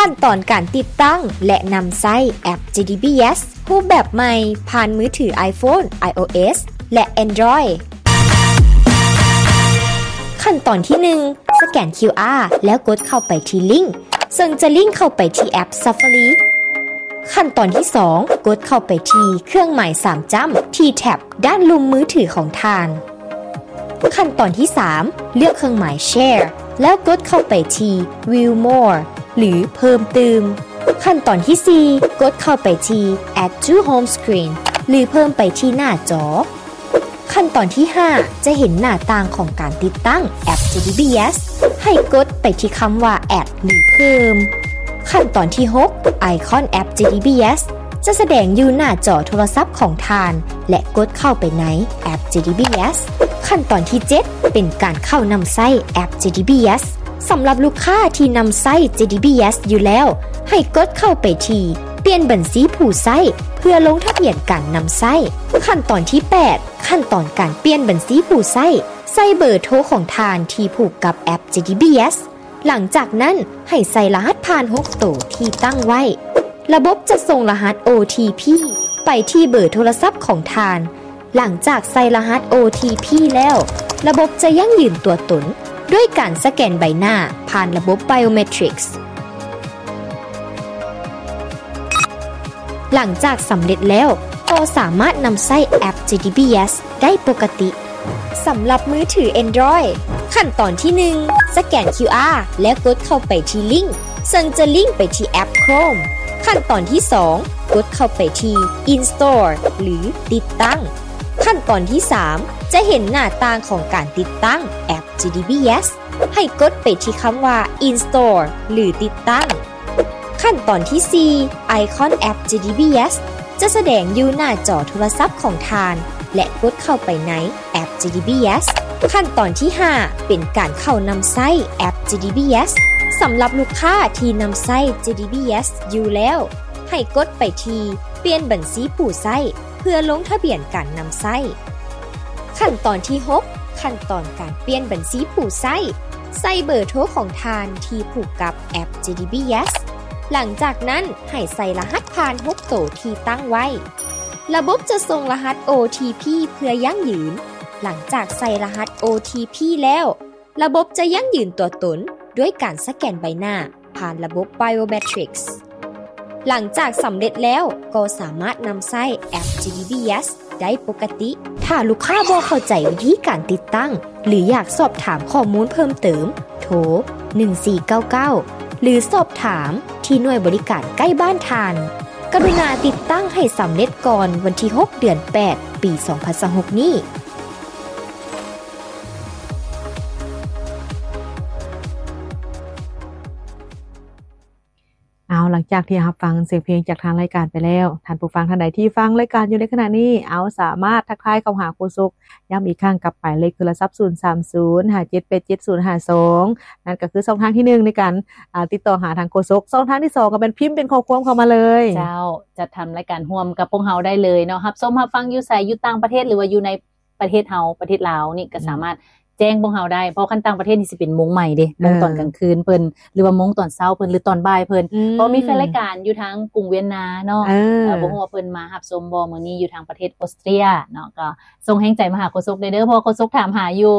ຂັ້ນຕອນການຕິດຕັ້ງ ແລະ ນຳໃຊ້ແອັບ ເຈ ດີ ບີ ເອສ ຮູບແບບໃໝ່ ຜ່ານມືຖື iPhone, iOS ແລະ Android. ຂັ້ນຕອນທີໜຶ່ງ ສະແກນ ຄິວອາ ແລ້ວກົດເຂົ້າໄປທີ່ລິ້ງ ເຊິ່ງຈະລິ້ງເຂົ້າໄປທີ່ແອັບ Safari. ຂັ້ນຕອນທີສອງ ກົດເຂົ້າໄປທີ່ເຄື່ອງໝາຍສາມຈ້ຳທີ່ແທັບດ້ານລຸ່ມມືຖືຂອງທ່ານ. ຂັ້ນຕອນທີສາມ ເລືອກເຄື່ອງໝາຍ Share ແລ້ວກົດເຂົ້າໄປທີ່ View More ຫຼື ເພີ່ມຕື່ມ. ຂັ້ນຕອນທີສີ່ ກົດເຂົ້າໄປທີ່ Add to Home Screen ຫຼື ເພີ່ມໄປທີ່ໜ້າຈໍ. ຂັ້ນຕອນທີຫ້າ ຈະເຫັນໜ້າຕ່າງຂອງການຕິດຕັ້ງແອັບ ເຈ ດີ ບີ ເອສ ໃຫ້ກົດໄປທີ່ຄຳວ່າ Add ຫຼື ເພີ່ມ. ຂັ້ນຕອນທີຫົກ ໄອຄອນແອັບ ເຈ ດີ ບີ ເອສ ຈະສະແດງຢູ່ໜ້າຈໍໂທລະສັບຂອງທ່ານ ແລະ ກົດເຂົ້າໄປໃນແອັບ ເຈ ດີ ບີ ເອສ. ຂັ້ນຕອນທີເຈັດ ເປັນການເຂົ້ານຳໃຊ້ແອັບ ເຈ ດີ ບີ ເອສ. ສຳລັບລູກຄ້າທີ່ນຳໃຊ້ ເຈ ດີ ບີ ເອສ ຢູ່ແລ້ວ ໃຫ້ກົດເຂົ້າໄປທີ່ປ່ຽນບັນຊີຜູ້ໃຊ້ ເພື່ອລົງທະບຽນການນຳໃຊ້. ຂັ້ນຕອນທີແປດ ຂັ້ນຕອນການປ່ຽນບັນຊີຜູ້ໃຊ້ ໃສ່ເບີໂທຂອງທ່ານທີ່ຜູກກັບແອັບ ເຈ ດີ ບີ ເອສ. ຫຼັງຈາກນັ້ນໃຫ້ໃສ່ລະຫັດຜ່ານຫົກໂຕທີ່ຕັ້ງໄວ້. ລະບົບຈະສົ່ງລະຫັດ ໂອ ທີ ພີ ໄປທີ່ເບີໂທລະສັບຂອງທ່ານ. ຫຼັງຈາກໃສ່ລະຫັດ ໂອ ທີ ພີ ແລ້ວ, ລະບົບຈະຢັ້ງຢືນຕົວຕົນດ້ວຍການສະແກນໃບໜ້າຜ່ານລະບົບ Biometrics. ຫຼັງຈາກສຳເລັດແລ້ວ, ກໍສາມາດນຳໃຊ້ແອັບ ເຈ ດີ ບີ ເອສ ໄດ້ປົກກະຕິ. ສຳລັບມືຖື Android, ຂັ້ນຕອນທີໜຶ່ງ ສະແກນ ຄິວອາ ແລ້ວກົດເຂົ້າໄປທີ່ລິ້ງ ເຊິ່ງຈະລິ້ງໄປທີ່ແອັບ Chrome. ຂັ້ນຕອນທີສອງ ກົດເຂົ້າໄປທີ່ Install ຫຼື ຕິດຕັ້ງ. ຂັ້ນຕອນທີສາມ ຈະເຫັນໜ້າຕ່າງຂອງການຕິດຕັ້ງແອັບ ເຈ ດີ ບີ ເອສ. ໃຫ້ກົດໄປທີ່ຄຳວ່າ Install ຫຼື ຕິດຕັ້ງ. ຂັ້ນຕອນທີສີ່ ໄອຄອນແອັບ ເຈ ດີ ບີ ເອສ ຈະສະແດງຢູ່ໜ້າຈໍໂທລະສັບຂອງທ່ານ ແລະ ກົດເຂົ້າໄປໃນແອັບ ເຈ ດີ ບີ ເອສ. ຂັ້ນຕອນທີຫ້າ ເປັນການເຂົ້ານຳໃຊ້ແອັບ ເຈ ດີ ບີ ເອສ. ສຳລັບລູກຄ້າທີ່ນຳໃຊ້ ເຈ ດີ ບີ ເອສ ຢູ່ແລ້ວ, ໃຫ້ກົດໄປທີ່ປ່ຽນບັນຊີຜູ້ໃຊ້ ເພື່ອລົງທະບຽນການນຳໃຊ້. ຂັ້ນຕອນທີຫົກ ຂັ້ນຕອນການປ່ຽນບັນຊີຜູ້ໃຊ້. ໃສ່ເບີໂທຂອງທ່ານທີ່ຜູກກັບແອັບ ເຈ ດີ ບີ ເອສ. ຫຼັງຈາກນັ້ນໃຫ້ໃສ່ລະຫັດຜ່ານຫົກໂຕທີ່ຕັ້ງໄວ້. ລະບົບຈະສົ່ງລະຫັດ ໂອ ທີ ພີ ເພື່ອຢັ້ງຢືນ. ຫຼັງຈາກໃສ່ລະຫັດ ໂອ ທີ ພີ ແລ້ວ, ລະບົບຈະຢັ້ງຢືນຕົວຕົນດ້ວຍການສະແກນໃບໜ້າ ຜ່ານລະບົບ Biometrics. ຫຼັງຈາກສຳເລັດແລ້ວ, ກໍສາມາດນຳໃຊ້ແອັບ ເຈ ດີ ບີ ເອສ ໄດ້ປົກກະຕິ. ຖ້າລູກຄ້າບໍ່ເຂົ້າໃຈວິທີການຕິດຕັ້ງ ຫຼື ຢາກສອບຖາມຂໍ້ມູນເພີ່ມເຕີມ, ໂທ ໜຶ່ງສີ່ເກົ້າເກົ້າ ຫຼື ສອບຖາມທີ່ໜ່ວຍບໍລິການໃກ້ບ້ານທ່ານ. ກະລຸນາຕິດຕັ້ງໃຫ້ສຳເລັດກ່ອນວັນທີຫົກ ເດືອນແປດ ປີສອງພັນຊາວຫົກນີ້. ເອົາ ຫຼັງຈາກທີ່ຮັບຟັງສຽງເພງຈາກທາງລາຍການໄປແລ້ວ, ທ່ານຜູ້ຟັງທ່ານໃດທີ່ຟັງລາຍການຢູ່ໃນຂະນະນີ້, ເອົາ ສາມາດທັກທາຍເຂົ້າຫາໂຄສົກ ຢ້ຳອີກຄັ້ງກັບໝາຍເລກໂທລະສັບ ສູນສາມສູນ ຫ້າເຈັດແປດເຈັດ ສູນຫ້າສອງ. ນັ້ນກໍຄືຊ່ອງທາງທີໜຶ່ງໃນການ ອາ ຕິດຕໍ່ຫາທາງໂຄສົກ. ຊ່ອງທາງທີສອງກໍແມ່ນພິມເປັນຂໍ້ຄວາມເຂົ້າມາເລີຍ. ເຈົ້າ, ຈັດທຳລາຍການຮ່ວມກັບພວກເຮົາໄດ້ເລີຍເນາະ. ຮັບຊົມຮັບຟັງຢູ່ໃສ, ຢູ່ຕ່າງປະເທດ ຫຼືວ່າຢູ່ໃນ ປະເທດເຮົາ ປະເທດລາວນີ້ກໍ ອືມ ສາມາດແຈ້ງພວກເຮົາໄດ້, ເພາະຄັນຕ່າງປະເທດນີ້ຊິເປັນໂມງໃໝ່ເດ້, ເອີ ໂມງຕອນກາງຄືນເພິ່ນ ຫຼືວ່າໂມງຕອນເຊົ້າເພິ່ນ ຫຼືຕອນບ່າຍເພິ່ນ. ອືມ ເພາະມີແຟນລາຍການຢູ່ທາງກຸງວຽນນາເນາະ, ເອີ ເອີ ບໍ່ຮູ້ວ່າເພິ່ນມາຮັບຊົມບໍ່ມື້ນີ້ ຢູ່ທາງປະເທດອົດສະຕຣຽເນາະ, ກໍສົ່ງແຮງໃຈມາຫາໂຄສົກໄດ້ເດີ, ເພາະວ່າໂຄສົກຖາມຫາຢູ່.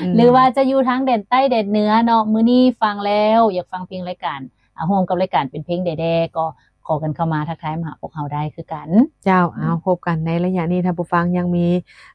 ອືມ ຫຼືວ່າຈະຢູ່ທາງແດນໃຕ້ແດນເໜືອເນາະ, ມື້ນີ້ຟັງແລ້ວ ຢາກຟັງເພງລາຍການ ອາ ຮ່ວມກັບລາຍການເປັນເພງໃດແດ່ ກໍ ຂໍກັນເຂົ້າມາທັກທາຍມາຫາພວກເຮົາໄດ້ຄືກັນ. ເຈົ້າ, ເອົາ ອືມ ພົບກັນໃນໄລຍະນີ້, ທ່ານຜູ້ຟັງຍັງມີ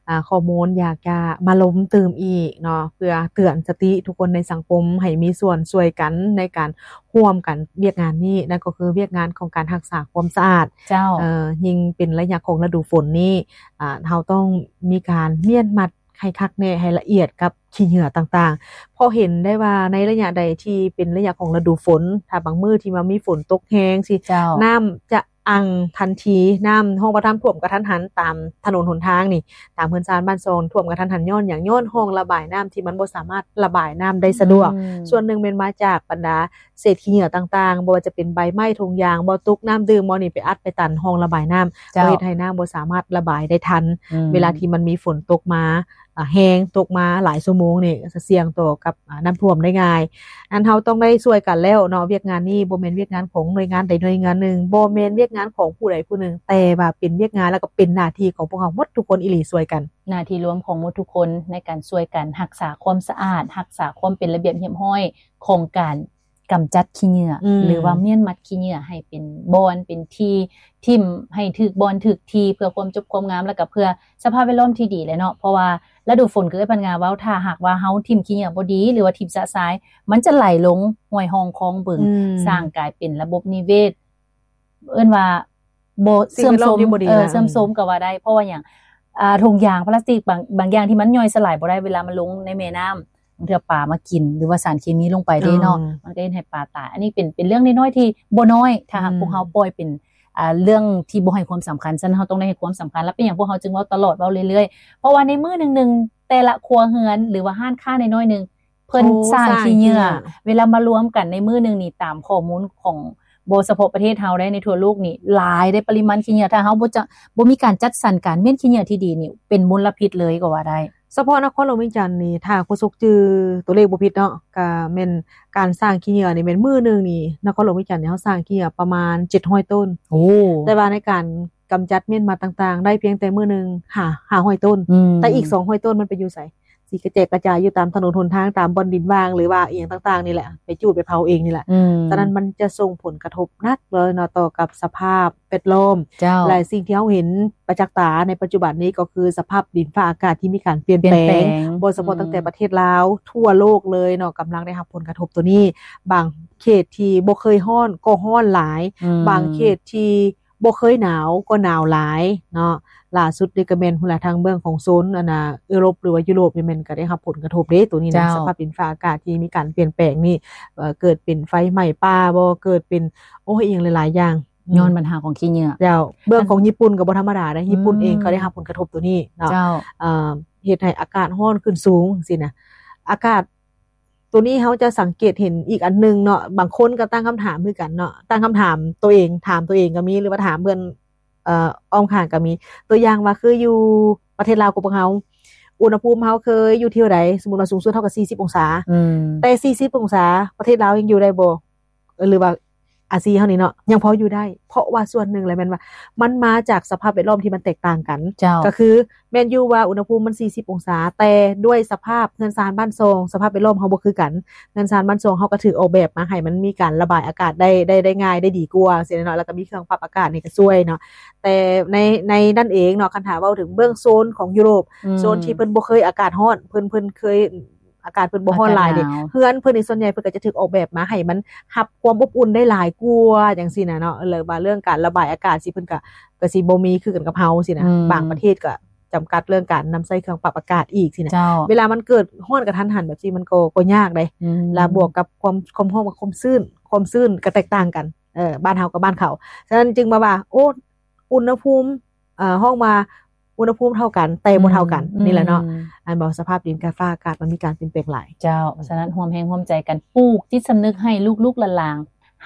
ອາ ຂໍ້ມູນຢາກຈະມາລົມຕື່ມອີກເນາະ, ເພື່ອເຕືອນສະຕິທຸກຄົນໃນສັງຄົມໃຫ້ມີສ່ວນຊ່ວຍກັນໃນການຮ່ວມກັນວຽກງານນີ້, ນັ້ນກໍຄືວຽກງານຂອງການຮັກສາຄວາມສະອາດ. ເຈົ້າ, ເອີ ຍິ່ງເປັນໄລຍະຂອງລະດູຝົນນີ້, ອາ ເຮົາຕ້ອງມີການມ້ຽນມັດ ໃຫ້ຄັກແນ່ ໃຫ້ລະອຽດກັບຂີ້ເຫຍື້ອຕ່າງໆ, ເພາະເຫັນໄດ້ວ່າໃນໄລຍະໃດທີ່ເປັນໄລຍະຂອງລະດູຝົນ, ຖ້າບາງມື້ທີ່ວ່າມີຝົນຕົກແຮງຊີ້, ເຈົ້າ, ນ້ຳຈະອັ່ງທັນທີ, ນ້ຳຮ່ອງພະທຳຖ້ວມກະທັນຫັນຕາມຖະໜົນຫົນທາງນີ້, ຕາມເຮືອນຊານບ້ານຊ່ອງຖ້ວມກະທັນຫັນ. ຍ້ອນຫຍັງ? ຍ້ອນຮ່ອງລະບາຍນ້ຳທີ່ມັນບໍ່ສາມາດລະບາຍນ້ຳໄດ້ສະດວກ. ອືມ ສ່ວນໜຶ່ງແມ່ນມາຈາກບັນດາ ເສດຂີ້ເຫຍື້ອຕ່າງໆ, ບໍ່ວ່າຈະເປັນໃບໄມ້, ຖົງຢາງ, ບໍ່ຕຸກນ້ຳດື່ມ, ບໍ່ນີ້ໄປອັດໄປຕັນຮ່ອງລະບາຍນ້ຳ, ເຈົ້າ, ກໍເຮັດໃຫ້ນ້ຳບໍ່ສາມາດລະບາຍໄດ້ທັນ. ອືມ ເວລາທີ່ມັນມີຝົນຕົກມາ ອາ ແຮງ, ຕົກມາຫຼາຍຊົ່ວໂ ງນີ້ ຈະສ່ຽງຕໍ່ກັບ ອາ ນ້ຳຖ້ວມໄດ້ງ່າຍ. ອັນເຮົາຕ້ອງໄດ້ຊ່ວຍກັນແລ້ວເນາະ, ວຽກງານນີ້ບໍ່ແມ່ນວຽກງານຂອງໜ່ວຍງານໃດໜ່ວຍງານໜຶ່ງ, ບໍ່ແມ່ນວຽກງານຂອງຜູ້ໃດຜູ້ໜຶ່ງ, ແຕ່ວ່າເປັນວຽກງານ ແລ້ວກໍເປັນໜ້າທີ່ຂອງພວກເຮົາໝົດທຸກຄົນອີ່ຫຼີ ຊ່ວຍກັນ. ໜ້າທີ່ລວມຂອງໝົດທຸກຄົນໃນການຊ່ວຍກັນຮັກສາຄວາມສະອາດ, ຮັກສາຄວາມເປັນລະບຽບຮຽບຮ້ອຍຂອງການ ກຳຈັດຂີ້ເຫຍື້ອ ອືມ ຫຼືວ່າມ້ຽນມັດຂີ້ເຫຍື້ອໃຫ້ເປັນບ່ອນເປັນທີ່ ຖິ້ມໃຫ້ຖືກບ່ອນຖືກທີ່ ເພື່ອຄວາມຈົບຄວາມງາມ ແລ້ວກໍເພື່ອສະພາບແວດລ້ອມທີ່ດີແຫຼະເນາະ. ເພາະວ່າລະດູຝົນ ຄືເອື້ອຍພັນງາເວົ້າ ຖ້າຫາກວ່າເຮົາຖິ້ມຂີ້ເຫຍື້ອບໍ່ດີ ຫຼືວ່າຖິ້ມຊະຊາຍ ມັນຈະໄຫຼລົງຫ້ວຍຮ່ອງຄອງບຶງ ອືມ ສ້າງກາຍເປັນລະບົບນິເວດ ເອີ້ນວ່າບໍ່ ສິ່ງແວດລ້ອມທີ່ບໍ່ດີ ເອີ ນະ ເສື່ອມໂຊມກໍວ່າໄດ້. ເພາະວ່າຫຍັງ? ອ່າ ຖົງຢາງພລາສຕິກບາງ ບາງຢ່າງທີ່ມັນຍ່ອຍສະຫຼາຍບໍ່ໄດ້ ເວລາມັນລົງໃນແມ່ນ້ຳ ບາງເທື່ອປາມາກິນ ຫຼືວ່າສານເຄມີລົງໄປເດ້ເນາະ ອືມ ມັນກໍເຮັດໃຫ້ປາຕາຍ. ອັນນີ້ເປັນ ເປັນເລື່ອງນ້ອຍໆທີ່ບໍ່ນ້ອຍ ຖ້າຫາກ ອືມ ພວກເຮົາປ່ອຍເປັນ ອ່າ ເລື່ອງທີ່ບໍ່ໃຫ້ຄວາມສຳຄັນ. ສະນັ້ນ ເຮົາຕ້ອງໄດ້ໃຫ້ຄວາມສຳຄັນ ແລະ ເປັນຫຍັງພວກເຮົາຈຶ່ງເວົ້າຕະຫຼອດ ເວົ້າເລື້ອຍໆ ເພາະວ່າໃນມື້ໜຶ່ງໆ ແຕ່ລະຄົວເຮືອນ ຫຼືວ່າຮ້ານຄ້ານ້ອຍໆໜຶ່ງ ເພິ່ນ ໂອ້ ສ້າງ ສ້າງຂີ້ເຫຍື້ອ ຂີ້ເຫຍື້ອ ເວລາມາລວມກັນໃນມື້ໜຶ່ງນີ້ ຕາມຂໍ້ມູນຂອງ ບໍ່ສະເພາະປະເທດເຮົາໄດ້ ໃນທົ່ວໂລກນີ້ຫຼາຍເດ້ ປະລິມານຂີ້ເຫຍື້ອ. ຖ້າເຮົາບໍ່ຈະ ບໍ່ມີການຈັດສັນການມ້ຽນຂີ້ເຫຍື້ອທີ່ດີນີ້ ເປັນມົນລະພິດເລີຍກໍວ່າໄດ້. ສະເພາະນະຄອນຫຼວງວຽງຈັນນີ້ ຖ້າໂຄສົກຈື່ຕົວເລກບໍ່ຜິດເນາະ ກະແມ່ນການສ້າງຂີ້ເຫຍື້ອນີ້ ແມ່ນມື້ໜຶ່ງນີ້ ນະຄອນຫຼວງວຽງຈັນນີ້ ເຮົາສ້າງຂີ້ເຫຍື້ອປະມານເຈັດຮ້ອຍໂຕນ. ໂອ້ ແຕ່ວ່າໃນການກຳຈັດມ້ຽນມັດຕ່າງໆ ໄດ້ພຽງແຕ່ມື້ໜຶ່ງຫ້າ ຫ້າຮ້ອຍໂຕນ. ອືມ ແຕ່ອີກສອງຮ້ອຍໂຕນມັນໄປຢູ່ໃສ? ຊິກະແຈກກະຈາຍຢູ່ຕາມຖະໜົນຫົນທາງ ຕາມບ່ອນດິນວ່າງ ຫຼືວ່າອີ່ຫຍັງຕ່າງໆນີ້ແຫຼະ ໄປຈູດໄປເຜົາເອງນີ້ແຫຼະ. ອືມ ສະນັ້ນມັນຈະສົ່ງຜົນກະທົບໜັກເລີຍເນາະ ຕໍ່ກັບສະພາບແວດລ້ອມ. ເຈົ້າ ແລະ ສິ່ງທີ່ເຮົາເຫັນປະຈັກຕາໃນປັດຈຸບັນນີ້ ກໍຄືສະພາບດິນຟ້າອາກາດທີ່ມີການປ່ຽນແປງ ປ່ຽນແປງ ບໍ່ສະເພາະ ອືມ ຕັ້ງແຕ່ປະເທດລາວ ທົ່ວໂລກເລີຍເນາະ ກຳລັງໄດ້ຮັບຜົນກະທົບໂຕນີ້. ບາງເຂດທີ່ບໍ່ເຄີຍຮ້ອນກໍຮ້ອນຫຼາຍ ອືມ ບາງເຂດທີ່ ບໍ່ເຄີຍໜາວກໍໜາວຫຼາຍເນາະ. ລ່າສຸດນີ້ກໍແມ່ນພຸ້ນລະ ທາງເບື້ອງຂອງໂຊນ ອັນນ່າ ເອີຣົບ ຫຼືວ່າຢູໂຣບນີ້ ແມ່ນກໍໄດ້ຮັບຜົນກະທົບເດ້ ໂຕນີ້ນະ. ເຈົ້າ ສະພາບດິນຟ້າອາກາດທີ່ມີການປ່ຽນແປງນີ້ ເອີ ເກີດເປັນໄຟໄໝ້ປ່າບໍ ເກີດເປັນ ໂອ້ຍ ອີ່ຫຍັງຫຼາຍໆຢ່າງ ອືມ ຍ້ອນບັນຫາຂອງຂີ້ເຫຍື້ອ. ເຈົ້າ ເບື້ອງຂອງຍີ່ປຸ່ນກໍບໍ່ທຳມະດາເດ້ ຍີ່ປຸ່ນເອງ ອືມ ກໍໄດ້ຮັບຜົນກະທົບໂຕນີ້ເນາະ. ເຈົ້າ ເອີ ເຮັດໃຫ້ອາກາດຮ້ອນຂຶ້ນສູງຈັ່ງຊີ້ນະ. ອາກາດ ໂຕນີ້ເຮົາຈະສັງເກດເຫັນອີກອັນໜຶ່ງເນາະ ບາງຄົນກໍຕັ້ງຄຳຖາມຄືກັນເນາະ ຕັ້ງຄຳຖາມໂຕເອງ ຖາມໂຕເອງກໍມີ ຫຼືວ່າຖາມເພື່ອນ ເອີ ອ້ອມຂ້າງກໍມີ. ຕົວຢ່າງວ່າຄືຢູ່ປະເທດລາວຂອງພວກເຮົາ ອຸນຫະພູມເຮົາເຄີຍຢູ່ທີ່ໃດ? ສົມມຸດວ່າສູງສຸດເທົ່າກັບສີ່ສິບອົງສາ ອືມ ແຕ່ສີ່ສິບອົງສາ ປະເທດລາວຍັງຢູ່ໄດ້ບໍ່? ເອີ ຫຼືວ່າ ອາຊີເຮົານີ້ເນາະ ຍັງພໍຢູ່ໄດ້ ເພາະວ່າສ່ວນໜຶ່ງແຫຼະແມ່ນວ່າ ມັນມາຈາກສະພາບແວດລ້ອມທີ່ມັນແຕກຕ່າງກັນ. ເຈົ້າ ກໍຄືແມ່ນຢູ່ວ່າອຸນຫະພູມມັນສີ່ສິບອົງສາ ແຕ່ດ້ວຍສະພາບເຮືອນຊານບ້ານຊ່ອງ ສະພາບແວດລ້ອມເຮົາບໍ່ຄືກັນ. ເຮືອນຊານບ້ານຊ່ອງເຮົາກໍຖືກອອກແບບມາໃຫ້ມັນມີການລະບາຍອາກາດໄດ້ ໄດ້ ໄດ້ງ່າຍ ໄດ້ດີກວ່າ ຊີ້ນະເນາະ ແລ້ວກໍມີເຄື່ອງປັບອາກາດນີ້ກໍຊ່ວຍເນາະ. ແຕ່ໃນ ໃນນັ້ນເອງເນາະ ຄັນຖ້າເວົ້າເຖິງເບື້ອງໂຊນຂອງຢູໂຣບ ອືມ ໂຊນທີ່ເພິ່ນບໍ່ເຄີຍອາກາດຮ້ອນ ເພິ່ນ ເພິ່ນເຄີຍ ອາກາດເພິ່ນບໍ່ຮ້ອນຫຼາຍເດ້ ອາກາດໜາວ ເຮືອນເພິ່ນນີ້ສ່ວນໃຫຍ່ເພິ່ນກໍຈະຖືກອອກແບບມາໃຫ້ມັນຮັບຄວາມອົບອຸ່ນໄດ້ຫຼາຍກວ່າຈັ່ງຊີ້ນະເນາະ. ແລ້ວວ່າເລື່ອງການລະບາຍອາກາດຊີ້ ເພິ່ນກໍ ກໍຊິບໍ່ມີຄືກັນກັບເຮົາຊີ້ນະ ອືມ ບາງປະເທດກໍຈຳກັດເລື່ອງການນຳໃຊ້ເຄື່ອງປັບອາກາດອີກຊີ້ນະ. ເຈົ້າ ເວລາມັນເກີດຮ້ອນກະທັນຫັນແບບຊີ້ ມັນກໍ ກໍຍາກເດ້ ອືມ ລະບວກກັບຄວາມ ຄວາມຮ້ອນກັບຄວາມຊື້ນ ຄວາມຊື້ນກໍແຕກຕ່າງກັນ ເອີ ບ້ານເຮົາກັບບ້ານເຂົາ. ສະນັ້ນຈຶ່ງມາວ່າ ໂອ້ ອຸນຫະພູມ ເອີ ຮ້ອງວ່າອຸນຫະພູມເທົ່າກັນ ແຕ່ບໍ່ເທົ່າກັນ ອືມ ນີ້ແຫຼະເນາະ ອືມ ອັນບໍ່ ສະພາບດິນກັບຟ້າອາກາດມັນມີການປ່ຽນແປງຫຼາຍ. ເຈົ້າ ສະນັ້ນຮ່ວມແຮງຮ່ວມໃຈກັນ ປູກຈິດສຳນຶກໃຫ້ລູກໆຫຼານ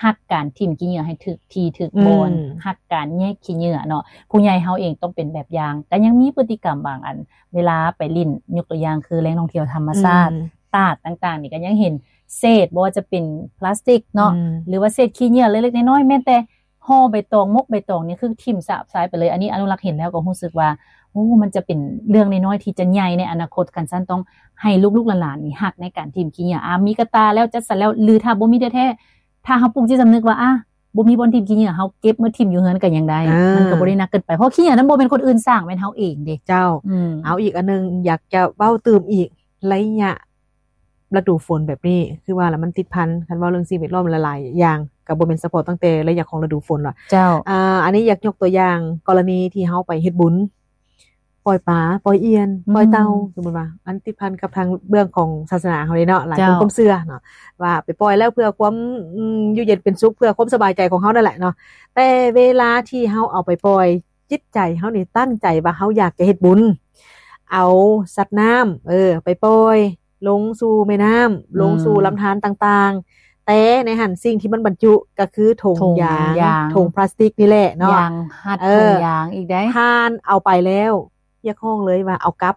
ໆ ຮັກການຖິ້ມຂີ້ເຫຍື້ອໃຫ້ຖືກທີ່ຖືກບ່ອນ ອືມ ຮັກການແຍກຂີ້ເຫຍື້ອເນາະ. ຜູ້ໃຫຍ່ເຮົາເອງຕ້ອງເປັນແບບຢ່າງ ກໍຍັງມີພຶດຕິກຳບາງອັນ ເວລາໄປຫຼິ້ນ ຍົກຕົວຢ່າງຄືແຫຼ່ງທ່ອງທ່ຽວທຳມະຊາດ ອືມ ຕາດຕ່າງໆນີ້ ກໍຍັງເຫັນເສດ ບໍ່ວ່າຈະເປັນພລາສຕິກເນາະ ອືມ ຫຼືວ່າເສດຂີ້ເຫຍື້ອເລັກໆນ້ອຍໆ ແມ່ນແຕ່ ຫໍ່ໃບຕອງ ໝົກໃບຕອງນີ້ຄືຖິ້ມສາບຊາຍໄປເລີຍ. ອັນນີ້ອະນຸລັກເຫັນແລ້ວກໍຮູ້ສຶກວ່າ ໂອ້ ມັນຈະເປັນເລື່ອງນ້ອຍໆທີ່ຈະໃຫຍ່ໃນອະນາຄົດ. ຄັນຊັ້ນຕ້ອງໃຫ້ລູກໆຫຼານໆນີ້ຮັກໃນການຖິ້ມຂີ້ເຫຍື້ອ. ອາ ມີກະຕ່າແລ້ວ ຈັດສັນແລ້ວ ຫຼືຖ້າບໍ່ມີແທ້ໆ ຖ້າເຮົາປູກຈິດສຳນຶກວ່າ ອາ ບໍ່ມີບ່ອນຖິ້ມຂີ້ເຫຍື້ອ ເຮົາເກັບມາຖິ້ມຢູ່ເຮືອນກໍຍັງໄດ້ ອາ ມັນກໍບໍ່ໄດ້ໜັກເກີນໄປ ເພາະຂີ້ເຫຍື້ອນັ້ນບໍ່ແມ່ນຄົນອື່ນສ້າງ ແມ່ນເຮົາເອງເດ້. ເຈົ້າ ອືມ ເອົາ ອີກອັນໜຶ່ງ ຢາກຈະເວົ້າຕື່ມອີກ ໄລຍະ ລະດູຝົນແບບນີ້ ຄືວ່າລະມັນຕິດພັນ ຄັນເວົ້າເລື່ອງສິ່ງແວດລ້ອມຫຼາຍໆຢ່າງ ກໍບໍ່ແມ່ນສະເພາະຕັ້ງແຕ່ໄລຍະຂອງລະດູຝົນລະ. ເຈົ້າ ອາ ອັນນີ້ຢາກຍົກຕົວຢ່າງກໍລະນີທີ່ເຮົາໄປເຮັດບຸນ ປ່ອຍປາ ປ່ອຍອ່ຽນ ອືມ ປ່ອຍເຕົ່າ ສົມມຸດວ່າ ອັນຕິດພັນກັບທາງເບື້ອງຂອງສາສະໜາເຮົາເດ້ເນາະ ຫຼາຍຄົນ ເຈົ້າ ຄວາມເຊື່ອເນາະ ວ່າໄປປ່ອຍແລ້ວເພື່ອຄວາມ ອືມ ຢູ່ເຢັນເປັນສຸກ ເພື່ອຄວາມສະບາຍໃຈຂອງເຮົານັ້ນແຫຼະເນາະ. ແຕ່ເວລາທີ່ເຮົາເອົາໄປປ່ອຍ ຈິດໃຈເຮົານີ້ຕັ້ງໃຈວ່າເຮົາຢາກຈະເຮັດບຸນ ເອົາສັດນ້ຳ ເອີ ໄປປ່ອຍລົງສູ່ແມ່ນ້ຳ ອືມ ລົງສູ່ລຳທານຕ່າງໆ ແຕ່ໃນຫັ້ນສິ່ງທີ່ມັນບັນຈຸກໍຄືຖົງ ຖົງຢາງ ຢາງ ຖົງພລາສຕິກນີ້ແຫຼະເນາະ ຢາງຮັດ ເອີ ຖົງຢາງອີກໄດ໋ ທ່ານເອົາໄປແລ້ວ ຮຽກຮ້ອງເລີຍວ່າເອົາກັບ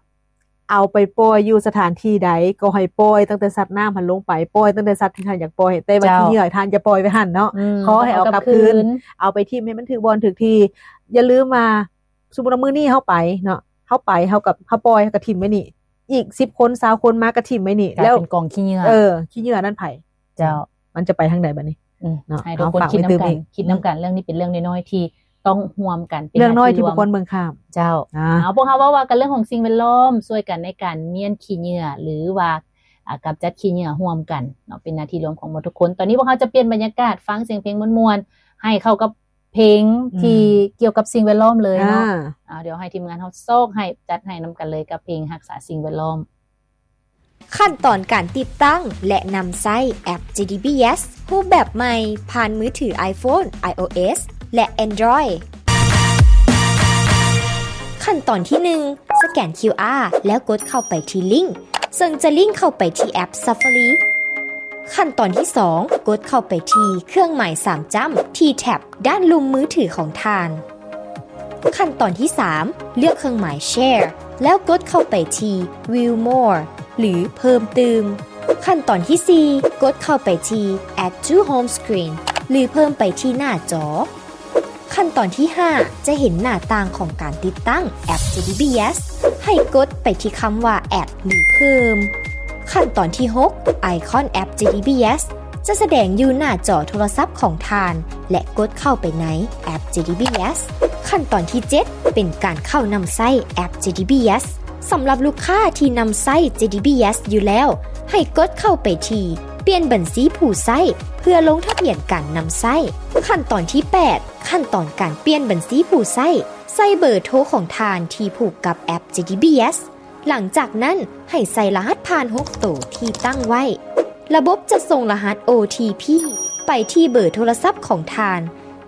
ເອົາໄປປ່ອຍຢູ່ສະຖານທີ່ໃດກໍໃຫ້ປ່ອຍຕັ້ງແຕ່ສັດນ້ຳຫັ້ນລົງໄປ, ປ່ອຍຕັ້ງແຕ່ສັດທີ່ທ່ານຢາກປ່ອຍ, ແຕ່ວ່າ ເຈົ້າ ຂີ້ເຫຍື້ອທ່ານຢ່າປ່ອຍໄວ້ຫັ້ນເນາະ, ອືມ ຂໍໃຫ້ເອົາກັບຄືນ ເອົາໄປຖິ້ມໃຫ້ມັນຖືກບ່ອນຖືກທີ່. ຢ່າລືມວ່າ ສົມມຸດວ່າມື້ນີ້ເຮົາໄປເນາະ, ເຮົາໄປ ເຮົາກໍ ເຮົາປ່ອຍ ເຮົາກໍຖິ້ມໄວ້ນີ້, ອີກສິບຄົນ ຊາວຄົນມາກໍຖິ້ມໄວ້ນີ້ ກາຍ ແລ້ວເປັນກອງຂີ້ເຫຍື້ອ. ເອີ ຂີ້ເຫຍື້ອນັ້ນໃຜ? ເຈົ້າ ມັນຈະໄປທາງໃດບັດນີ້? ອືມ ເນາະ ໃຫ້ທຸກຄົນ ເອົາ ຝາກໄວ້ຕື່ມອີກ ຄິດນຳກັນ, ຄິດນຳກັນ. ອືມ ເລື່ອງນີ້ເປັນເລື່ອງນ້ອຍໆທີ່ຕ້ອງຮ່ວມກັນ, ເປັນເລື່ອງນ້ອຍທີ່ບໍ່ຄວນເບິ່ງຂ້າມ. ເຈົ້າ ອ່າ ເອົາ ພວກເຮົາເວົ້າວ່າກັນເລື່ອງຂອງສິ່ງແວດລ້ອມ, ຊ່ວຍກັນໃນການມ້ຽນຂີ້ເຫຍື້ອ ຫຼືວ່າ ອ່າ ກຳຈັດຂີ້ເຫຍື້ອຮ່ວມກັນເນາະ, ເປັນໜ້າທີ່ລວມຂອງໝົດທຸກຄົນ. ຕອນນີ້ພວກເຮົາຈະປ່ຽນບັນຍາກາດ, ຟັງສຽງເພງມ່ວນໆ ໃຫ້ເຂົ້າກັບ ເພງທີ່ ອືມ ກ່ຽວກັບສິ່ງແວດລ້ອມເລີຍເນາະ. ອ່າ ອ່າ ດຽວໃຫ້ທີມງານເຮົາຊອກໃຫ້ ຈັດໃຫ້ນຳກັນເລີຍກັບເພງຮັກສາສິ່ງແວດລ້ອມ. ຂັ້ນຕອນການຕິດຕັ້ງ ແລະ ນຳໃຊ້ແອັບ ເຈ ດີ ບີ ເອສ ຮູບແບບໃໝ່ ຜ່ານມືຖື iPhone, iOS ແລະ Android. ຂັ້ນຕອນທີໜຶ່ງ ສະແກນ ຄິວ ອາ ແລ້ວກົດເຂົ້າໄປທີ່ລິ້ງ ເຊິ່ງຈະລິ້ງເຂົ້າໄປທີ່ແອັບ Safari. ຂັ້ນຕອນທີສອງ ກົດເຂົ້າໄປທີ່ເຄື່ອງໝາຍສາມຈ້ຳທີ່ແທັບດ້ານລຸ່ມມືຖືຂອງທ່ານ. ຂັ້ນຕອນທີສາມ ເລືອກເຄື່ອງໝາຍ Share ແລ້ວກົດເຂົ້າໄປທີ່ View More ຫຼື ເພີ່ມຕື່ມ. ຂັ້ນຕອນທີສີ່ ກົດເຂົ້າໄປທີ່ Add to Home Screen ຫຼື ເພີ່ມໄປທີ່ໜ້າຈໍ. ຂັ້ນຕອນທີຫ້າ ຈະເຫັນໜ້າຕ່າງຂອງການຕິດຕັ້ງແອັບ ເຈ ດີ ບີ ເອສ ໃຫ້ກົດໄປທີ່ຄຳວ່າ Add ຫຼື ເພີ່ມ. ຂັ້ນຕອນທີຫົກ ໄອຄອນແອັບ ເຈ ດີ ບີ ເອສ ຈະສະແດງຢູ່ໜ້າຈໍໂທລະສັບຂອງທ່ານ ແລະ ກົດເຂົ້າໄປໃນແອັບ ເຈ ດີ ບີ ເອສ. ຂັ້ນຕອນທີເຈັດ ເປັນການເຂົ້ານຳໃຊ້ແອັບ ເຈ ດີ ບີ ເອສ. ສຳລັບລູກຄ້າທີ່ນຳໃຊ້ ເຈ ດີ ບີ ເອສ ຢູ່ແລ້ວ ໃຫ້ກົດເຂົ້າໄປທີ່ປ່ຽນບັນຊີຜູ້ໃຊ້ ເພື່ອລົງທະບຽນການນຳໃຊ້. ຂັ້ນຕອນທີແປດ ຂັ້ນຕອນການປ່ຽນບັນຊີຜູ້ໃຊ້, ໃສ່ເບີໂທຂອງທ່ານທີ່ຜູກກັບແອັບ ເຈ ດີ ບີ ເອສ. ຫຼັງຈາກນັ້ນ ໃຫ້ໃສ່ລະຫັດຜ່ານຫົກໂຕທີ່ຕັ້ງໄວ້. ລະບົບຈະສົ່ງລະຫັດ ໂອ ທີ ພີ ໄປທີ່ເບີໂທລະສັບຂອງທ່ານ.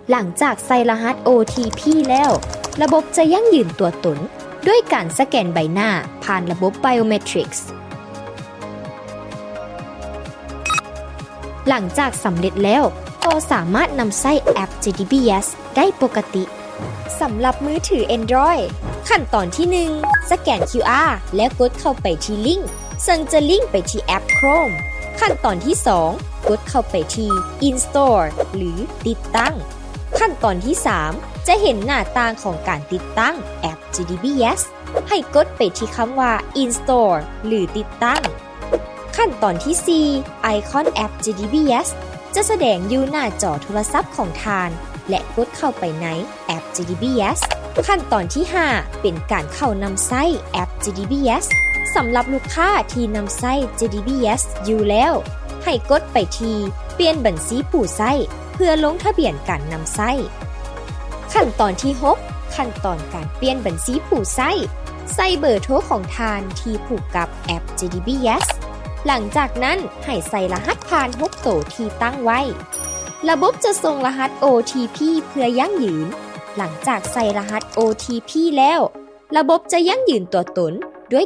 ຫຼັງຈາກໃສ່ລະຫັດ ໂອ ທີ ພີ ແລ້ວ, ລະບົບຈະຢັ້ງຢືນຕົວຕົນດ້ວຍການສະແກນໃບໜ້າຜ່ານລະບົບ Biometrics. ຫຼັງຈາກສຳເລັດແລ້ວ, ກໍສາມາດນຳໃຊ້ແອັບ ເຈ ດີ ບີ ເອສ ໄດ້ປົກກະຕິ. ສຳລັບມືຖື Android, ຂັ້ນຕອນທີໜຶ່ງ ສະແກນ ຄິວ ອາ ແລ້ວກົດເຂົ້າໄປທີ່ລິ້ງ ເຊິ່ງຈະລິ້ງໄປທີ່ແອັບ Chrome. ຂັ້ນຕອນທີສອງ ກົດເຂົ້າໄປທີ່ Install ຫຼື ຕິດຕັ້ງ. ຂັ້ນຕອນທີສາມ ຈະເຫັນໜ້າຕ່າງຂອງການຕິດຕັ້ງແອັບ ເຈ ດີ ບີ ເອສ. ໃຫ້ກົດໄປທີ່ຄຳວ່າ Install ຫຼື ຕິດຕັ້ງ. ຂັ້ນຕອນທີສີ່ ໄອຄອນແອັບ ເຈ ດີ ບີ ເອສ ຈະສະແດງຢູ່ໜ້າຈໍໂທລະສັບຂອງທ່ານ ແລະ ກົດເຂົ້າໄປໃນແອັບ ເຈ ດີ ບີ ເອສ. ຂັ້ນຕອນທີຫ້າ ເປັນການເຂົ້ານຳໃຊ້ແອັບ ເຈ ດີ ບີ ເອສ. ສຳລັບລູກຄ້າທີ່ນຳໃຊ້ ເຈ ດີ ບີ ເອສ ຢູ່ແລ້ວ, ໃຫ້ກົດໄປທີ່ປ່ຽນບັນຊີຜູ້ໃຊ້ ເພື່ອລົງທະບຽນການນຳໃຊ້. ຂັ້ນຕອນທີຫົກ ຂັ້ນຕອນການປ່ຽນບັນຊີຜູ້ໃຊ້. ໃສ່ເບີໂທຂອງທ່ານທີ່ຜູກກັບແອັບ ເຈ ດີ ບີ ເອສ. ຫຼັງຈາກນັ້ນ ໃຫ້ໃສ່ລະຫັດຜ່ານຫົກໂຕທີ່ຕັ້ງໄວ້. ລະບົບຈະສົ່ງລະຫັດ ໂອ ທີ ພີ ເພື່ອຢັ້ງຢືນ. ຫຼັງຈາກໃສ່ລະຫັດ ໂອ ທີ ພີ ແລ້ວ, ລະບົບຈະຢັ້ງຢືນຕົວຕົນ